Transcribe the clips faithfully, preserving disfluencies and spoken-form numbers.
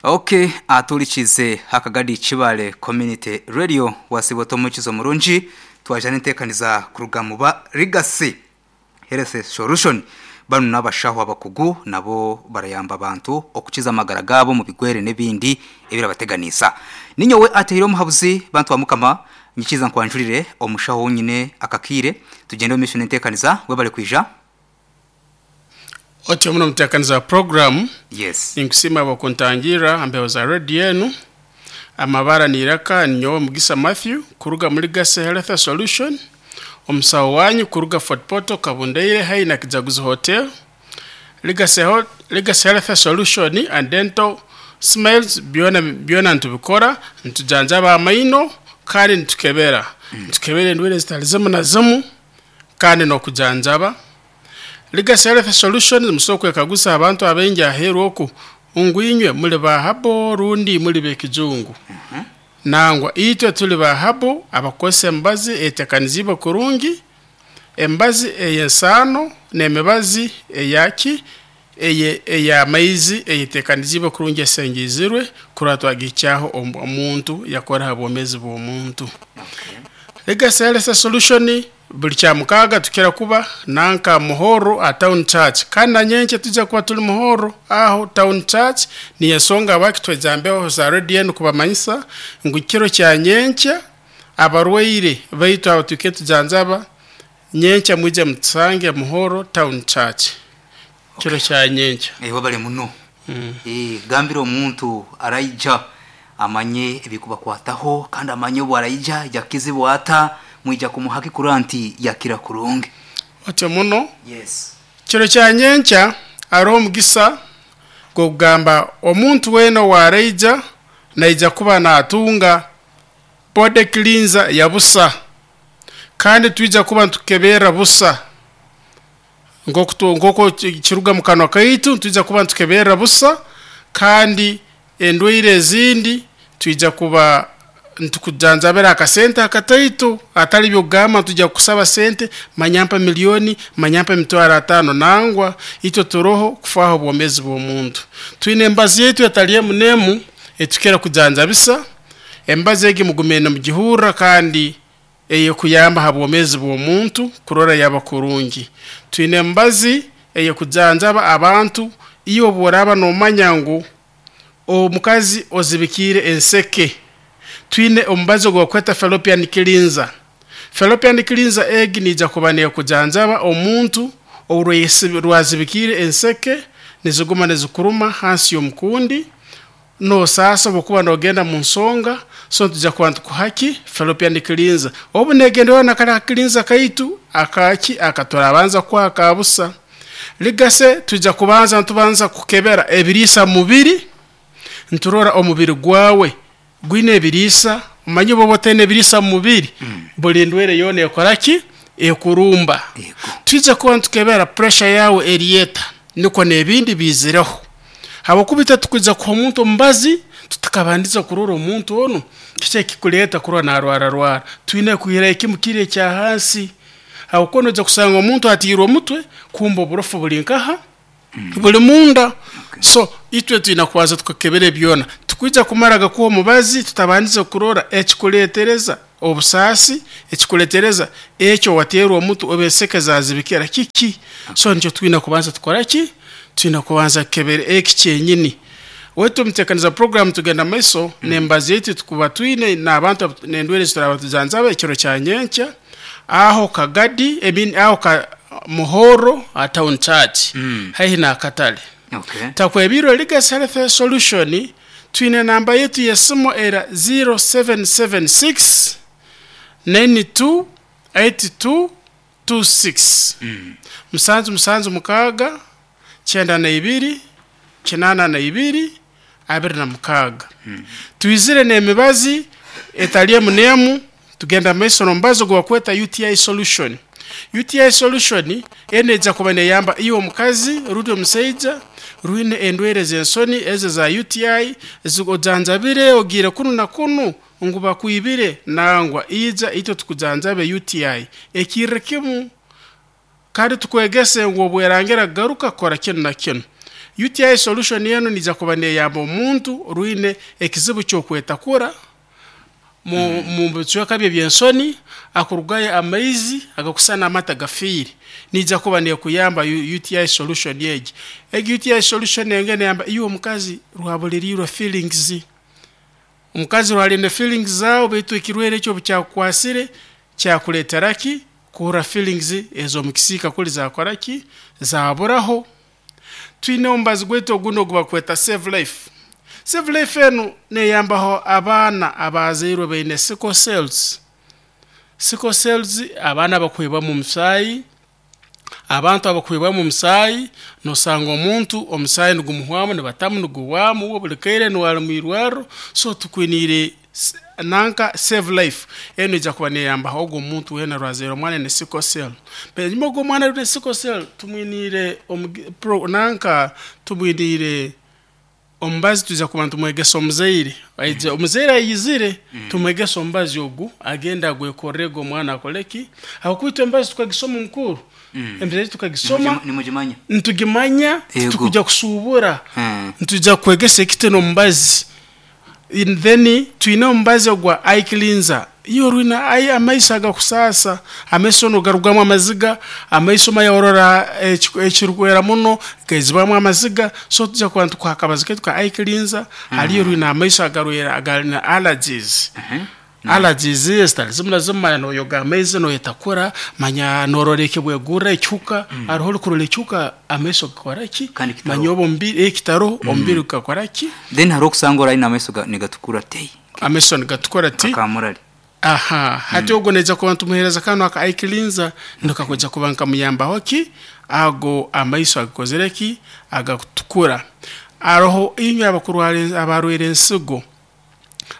Okay, atulikize hakagadi Kibale Community Radio wasibo tomukizo murungi twajana entekaniza kuruga mu ba Legacy Health Solution. Bano n'abashaho abakugu nabo barayamba abantu okukiza amagara gabo mu bigwere n'ebindi ebirabateganisa. Ninyowe atehire omuhabuzi bantu ba Mukama nyikiza nkwanjurire omushaho nyine akakire tugende mu mission entekaniza webale kwija. Otyo muno mutekaniza program. Yes. Ninkusima abakuntangira ambeho za radio yenu. Amabara niraka ninyowe Mugisa Matthew kuruga muri Legacy Health Solution. Omusawo wanyu kuruga Fort Portal Kabundeire hai na Kijaguzo Hotel. Legacy Ho- Legacy Health Solution and Dental Smiles byona byona ntubikora ntujanjaba amaino kandi ntukebera. Ntukebera endwara zitali zimu na zimu kandi nokujanjaba. Legacy Health Solutions musoko ekagusa abantu abengi aheru oku ungwinywe muli ba habo rundi muli bekijungu. Nangwa itwe tuli ba habo abakosa embazi etekaniziba kurungi, embazi eyensano n'emibazi eyaki eye eyamaizi eyetekaniziba kurungi esengizirwe kurwa twagikyaho omuntu yakora habomezi bw'omuntu. Legacy Health Solution buli kya mukaga tukira kuba nanka Muhoro a Town Church, kandi na nyenche tujya kuba tuli Muhoro aho Town Church. Ni ensonga bakitwejambeho za radio kubamanyisa ngu kiro kya nyenche abarwaire baitu abo tuke tujanjaba nyenche mwije mutusange Muhoro Town Church kiro kya nyenche. Eh wabale muno. Mm. Eh gambira omuntu araija amanye ebikubakwataho kandi amanye obu araija yakizibwa ata mwija kumuhaki kuranti yakira kurungi. Otyo muno. Yes. Kiro kya nyencha aro omugisa gogamba omuntu weno wareija naija kuba natunga body cleanser ya busa, kandi twija kuba ntukebera busa ngoko ngoko kiruga mu kanwa kaitu, twija kuba ntukebera busa, kandi endwaire ezindi twija kuba ntukujanjabera akasente akataitu atali byogamba tujya kusaba sente manyampa milioni manyampa mitwaro atano. Nangwa ito turoho kufaho bwomezi bw'omuntu. Twine embazi yetu etali munemu etukera kujanjabisa embazi egi mugumene mugihurra kandi eye kuyamba ha bwomezi bw'omuntu kurora yaba kurungi. Twine embazi eye kujanjaba abantu iyo boraba nomanya ngu omukazi ozibikire enseke. Twine omubazi gwa kweta fallopian cleanser. Fallopian cleanser egi nija kuba kujanjaba omuntu orwazibikire enseke niziguma nizikuruma hansi y'omukundi no sasa bokuba nogenda mu nsonga, so tujya kuba tukuhaki fallopian cleanser. Obu negendewa na kala cleanser kaitu akaki akatorabanza kwa kabusa. Legacy tujya kubanza ntubanza kukebera ebirisa mubiri nturora omubiri gwawe gwine ebirisa umanyi bobo tene ebirisa mubiri mm. Buli ndwere yone ekoraki ekurumba. Twize kuba ntukebera pressure yawe erieta niko nebindi bizireho. Habokubita tukuza ku omuntu mbazi tutakabandiza kurora omuntu ono kiche kikuleta kurwa na rwara rwara. Twine kuhira ekimukire kya hansi. Habukono ja kusanga omuntu atirwa omutwe kumba oburofu buli nkaha mm. buli munda. Okay. So itwe twina kwaza tukakebere byona tukwija kumaraga kuwa mubazi tutabandiza kurora ekikuletereza obusasi ekikuletereza ekyo waterwa omuntu obeseke zazibikira kiki. Okay. So njo twina kubanza tukora ki twina kubanza kebere eki kyenyini. Wetu mtekaniza program tugenda maiso mm. nembazi yetu tukuba twine n'abantu nendwere zituraba tujanzaba ekiro kya nyencha aho Kagadi emin aho ka Muhoro a Town Church mm. haihi na Katale. Okay. Takwebiro Legacy Health Solution twine namba yetu ya simu era zero seven seven six nine two eight two two six. Mm. Musanzu musanzu mukaga chenda na ibiri kinana na ibiri abiri na mukaga. Mm. Tuizire n'emibazi etaliye munemu tugenda maiso nombazo gwa kweta U T I solution. U T I solution eneja kuba neyamba iyo omukazi rundi omusaija ruine endwere z'ensoni eze za U T I ojanjabire ogire kunu na kunu ngu bakwibire nangwa ija ito tukujanjabe U T I ekirre kimu kandi tukwegese ngu obwerangera garuka kora kinu na kinu. U T I solution eno nija kuba neyamba omuntu rwine ekizibu ky'okwetakura mu mu bicweka bye by'ensoni akurugayo amaizi agakusana amata gafiire nija kuba nekuyamba U T I solution egi. Egi U T I solution enge neyamba iwe omukazi rwabulirirwa feelings. Omukazi rwaline feelings zao baitu ekirwere ekyo bukyakukwasire kyakuleetera ki kuhurra feelings ez'omukisiika kuli zakoraki zaburaho. Twine omubazi gwaitu ogundi ogubakweta Save Life. Save Life enu neyambaho abaana abazairwe baine sickle cells. Sickle cells abaana bakwibwamu omusaayi, abantu abakwibwamu omusaayi, nosanga omuntu omusaayi nigumuhwamu nibatamu niguhwamu buli kaire niwali mwirwarro. So tukwiniire nanka Save Life enu ija kuba neyambaho ogwo omuntu wena rwazaire omwana ne sickle cell. Enyuma ogwo omwana ne sickle cell tumwiniire nanka tumwiniire omubazi tuza kuba tumwegesa omuzaire. Omuzaire ayizire tumwegesa omubazi ogu agenda agwekorrege omwana akoleki. Aho kwitwa embazi tukagisoma omukuru. Embazi tukagisoma nimugimanya ntugimanya tukujja kusuubura ntujja kwegesa ekiteno omubazi. Then twine omubazi ogwa eye cleanser. Iyo rwina ayi amaiso agakusasa, amaiso no garugamu amaziga, amaiso mayorora ekirukwera muno gaizibwamu amaziga. So tujja kuba tukwakabazi ketu ka eye cleanser. Haliyo rwina amaiso agarwera agalina allergies. Allergies ezitali zimwe na zimwe noyoga amaizi noyetakura manya norora ekibwegurra ekihuka hariho orikurora ekihuka amaiso gakora ki manya oba omubiri ekitaro omubiri gukakora ki. Then hariho okusanga oraine amaiso nigatukura tei amaiso nigatukura ti akamurari. Aha, hati ogwo neija kuba ntumuheereza kano aka eye cleanser nikakuja kuba nkamuyambaho ki ago amaiso agakozire ki agakutukura. Aroho inywe abakurwara abarwaire ensigo,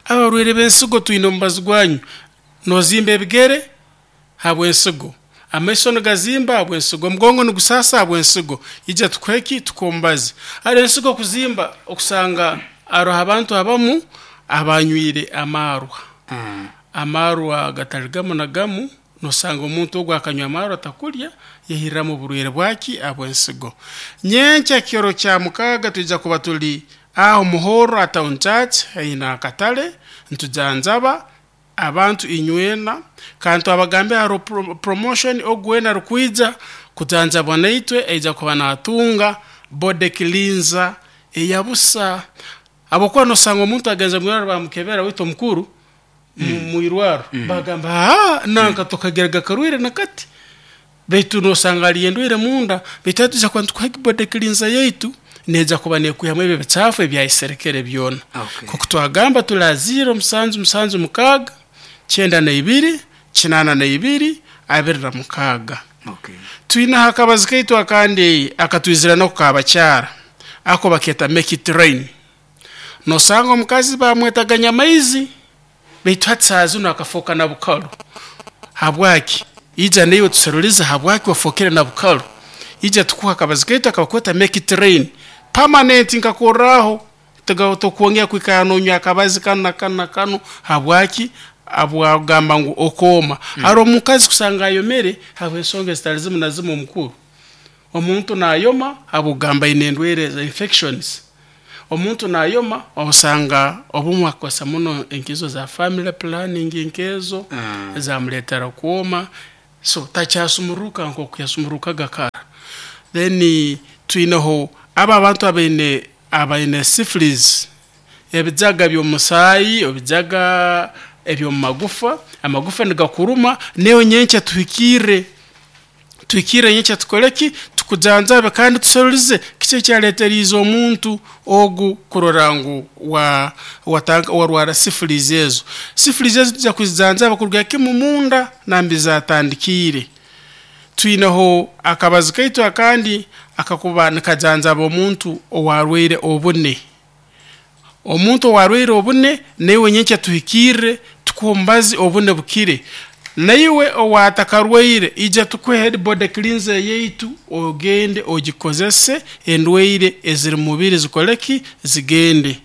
abarwaire b'ensigo twine omubazi gwanyu nozimba ebigere habw'ensigo, amaiso nigazimba habw'ensigo, omugongo nigusasa habw'ensigo, ija tukuhe tukombazi. Hari ensigo kuzimba okusanga aroho abantu abamu abanywire amarwa. Amarwa gatali gamu na gamu, nosanga omuntu ogwo akanywa amarwa takulya yehirramu oburwaire bwaki abw'ensigo. Nyenkya kiro kya mukaaga twija kuba tuli aho Muhoro Town Church haina akatale ntujanjaba abantu inywena kandi twabagambe haro pro, promotion ogwena rukwija kujanjabwa naitwe aija kuba natunga body cleanser eyabusa. Abokuba nosanga omuntu agenze mwirwaro bamukebera wito mukuru mwirwaro mm. bagamba ah nanka tukagerega karwire nakati baitu nosanga aliendwire munda baitu tuja kuba tukuha body cleanser yaitu neja kuba nekuyamu ebyo bichafu ebyayiserekere byona. Okay. Kuko twagamba tulaziro musanzu musanzu mukaga kyenda na ibiri kinana na ibiri abiri na mukaga. Okay. Twina hakabazi kaitu akandi akatwizira no kukabakyara ako baketa make it rain. Nosanga omukazi bamwetaganya maizi baitu hatsazi nakafoka na bukalo. Habwaki ija niyo tuseruliza habwaki wafokere na bukalo. Ija tukuha akabazi kaitu akabakweta make it rain permanent nkakoraho tukuongea kwikana onywa akabazi kanu na kanu na kanu habwaki abwagamba ngu okoma. Mm. Haro omukazi kusanga ayomere habwensonga zitali zimu na zimu omukuru. Omuntu nayoma abugamba inendwere za infections. Omuntu nayoma osanga obumwe akosa muno enkizo za family planning enkezo mm. zamuletera kuoma so takyasumuruka nko kuyasumuruka gakara. Then twineho aba abantu abaine abaine syphilis ebijaga by'omusaayi ebijaga ebyo magufa amagufa nigakuruma neyo nyenche tuhikire tuhikire nyenche tukoleki tukujanjabe kandi tuserulize kiche kyaleteriza omuntu ogu kurorangu wa watanga warwara syphilis ezo. Syphilis ezo tuja kuzijanjaba kuruga kimu munda nambi zatandikire. Twineho akabazi kaitu akandi akakuba nikajanjaba omuntu owarwaire obune. Omuntu owarwaire obune newe nyenche tuhikire tukumbazi obune bukire. Naiwe owatakarwaire ija tukuhe body cleanser yaitu ogende ogikozese endwaire eziri mubiri zikoleki zigende.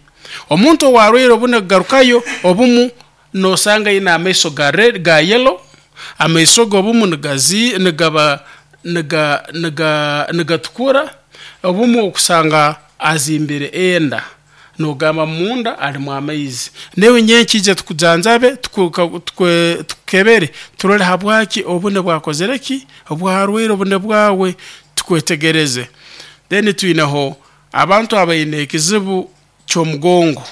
Omuntu owarwaire obune garukayo obumu nosanga ina amaiso ga red ga yellow, amaiso gobumu nigazi nigaba niga niga nigatukura obumu okusanga azimbire enda nogamba munda alimu amaizi newe nyenkije tukujanjabe tukebere turole habwaki obune bwakozereki obwarwaire obune bwawe tukwetegereze. Then twineho abantu abaine ekizibu ky'omugongo.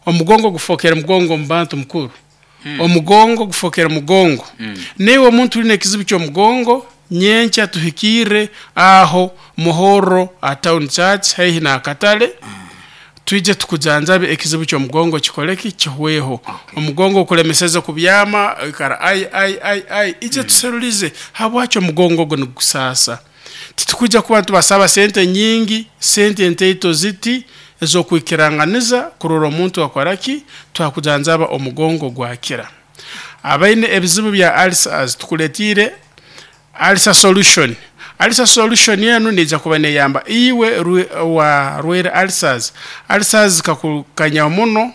Omugongo gufokera mugongo mu bantu mukuru. Mm. Omugongo gufokera mugongo. Mm. Newe omuntu uline ekizibu ky'omugongo nyenkya tuhikire aho Muhoro a town church haihi na akatale. Mm. Twije tukujanjabe ekizibu ky'omugongo kikoleki kihweho. Okay. Omugongo okulemeseza kubyama ikara ai ai ai ai ije mm. tuserulize habwaki omugongo go nigusasa. Titukuja kuba tubasaba sente nyingi, sente nteito ziti ezokwikiranganiza kurora omuntu akwaraki twakujanjaba omugongo gwakira. Abaine ebizibu bya ulcers tukuletire ulcer solution. Ulcer solution yenu nija kuba neyamba iwe wa rwere ulcers. Ulcers kakukanya muno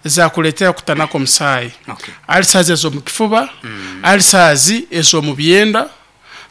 zakuletera kutanako musayi. Okay. Ulcers ezo mu kifuba, mm. ulcers ezo mu byenda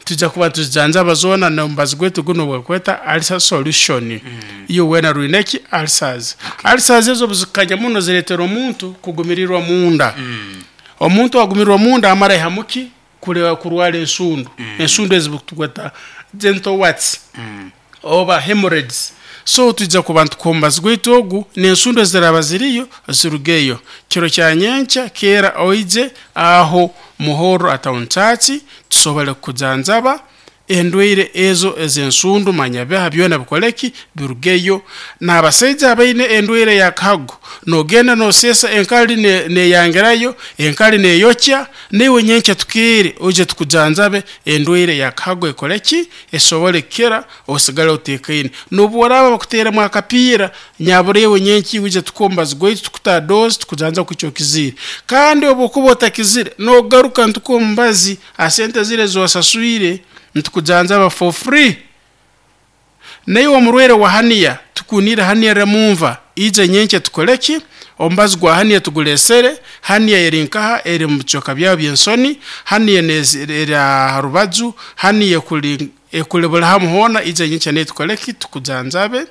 tujja kuba tujanjaba zona na mbazi gwetu guno bwekweta ulcer solution. Mm. Iyo wena ruineki ulcers. Okay. Ulcers ezo buzikanya muno ziretera omuntu kugumirirwa munda. Mm. Omuntu agumirirwa munda amara ihamuki kulewa kurwala ensundu. Mm. Ensundu ezibutugweta gentle warts. Mm. Oba hemorrhoids. So tujja kuba tukombazi gwetu ogu n'ensundu eziraba ziriyo zirugeyo. Kiro kya nyenkya kera oije aho Muhoro a town church tusobole kujanjaba endwaire ezo ezensundu manyabeha byona bikoleki birugeyo. N'abasajja abaine endwaire ya kago nogenda nosesa enkali neyangerayo ne enkali neyokya newe nyenkya tukire oje tukujanjabe endwaire ya kago ekoleki esobole kera osigale otekaine. Nobu waraba bakuteremu akapira nyaburewe nyenki uje tukombazi gwetu tukuta dose tukujanja kucyo kizire. Kandi obukuba otakizire nogaruka ntukombazi asente zire zosasuire ntukujanjaba for free. Naye omurwere wa hania tukunira hania remumva ije nyenke tukoleki ombazi gwa hania tugulesere hania erinkaha eri mucoka bya byensoni hania nezira harubaju hania kuli ekulebula hamuhona ije nyenke ne tukoleki tukujanjabe.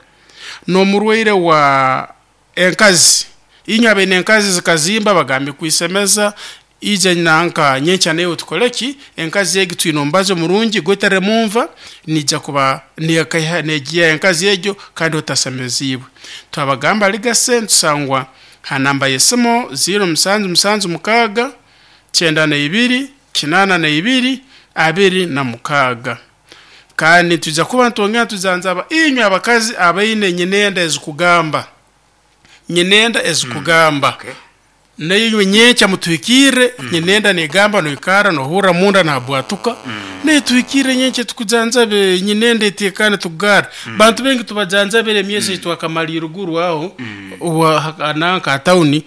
No murwere wa enkazi inywa bene enkazi zikazimba bagambe kuisemeza ije nanka nyencha nayo tukoleki enkazi yegi twinombazo murungi gwetere mumva nija kuba niyakaiha negiya enkazi yejo kandi otasemezibwe. Twabagamba ligase tusangwa ha namba yesimo zero musanzu musanzu mukaga cyenda na ibiri kinana na ibiri abiri na mukaga. Kandi tuja kuba ntongera tuzanzaba inywa abakazi abaine nyenenda ezikugamba nyenenda ezikugamba. Mm, okay. Nayo nyencha mutuikire mm. nyenenda negamba noikara nohura munda na bwatuka. Mm. Ne tuikire nyencha tukujanzabe nyenenda itekane tugara. Mm. Bantu bengi tubajanzabere myezi mm. twakamalira ruguru aho mm. ananka town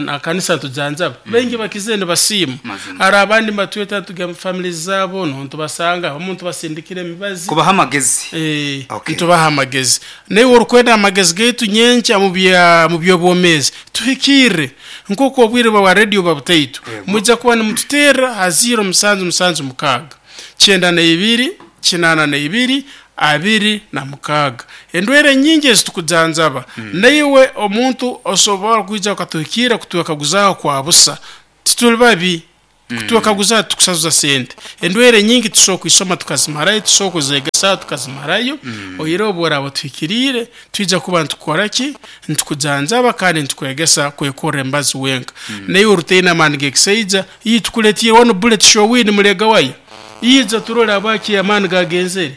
akanisa tujanzaba. Mm. Bengi bakizende basimu. Ara abandi matweta tugamba family zabo no ntubasanga omuntu basindikire emibazi kubaha amagezi. Eh, okay. Ntubaha amagezi. Naye orukwenda amagezi getu nyencha mu bya mu byobomezi tuhikire nkoko obwire bwa radio babutaitu mujja kuba nimututera ha zero musanzu musanzu mukaga cyenda na ibiri kinana na ibiri abiri na mukaga. Endwere nyingi ezitukujanjaba. Mm. Naiwe omuntu osobora kuija ukatuhikira kutuwakaguzaho kwa busa tituli babi. Mm. Kutuwakaguza tukusazuza sente. Endwere nyingi tusobola kuisoma tukazimarayo, tusobola kuzegesa tukazimarayo. Mm. Oyire obora butuhikirire twija kuba ntukora ki ntukujanjaba kandi ntukwegesa kwekora embazi wenka. Mm. Naye oruteina amani gekiseija iyi tukuletire one bullet show win mulega wayo yiza turora abaki amani gagenzere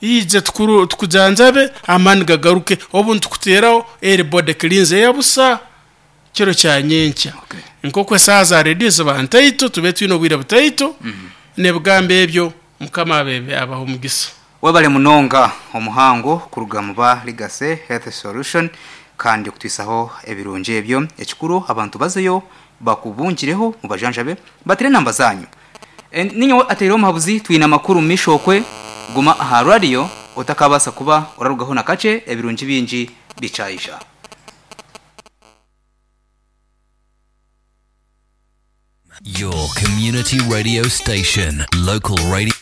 yiza tukuru tukujanjabe amani gagaruke obu ntukuteraho eri body cleanse yabusa kiro kya nyenkya. Okay. Nkokwe saza radio zibantaito tube twino bwire butaito. Mm -hmm. Nebugambe ebyo mukama abebe abaho mugisa. Webale munonga omuhango kuruga mu ba Legacy Health Solution kandi kutwisaho ebirungi ebyo ekikuru abantu bazeyo bakubungireho mu bajanjabe batire namba zanyu. E, ninyo ateiro omuhabuzi twina makuru mishokwe guma aha radio otakabasa kuba orarugaho na kace ebirungi bingi bicaisha. Your community radio station, local radio.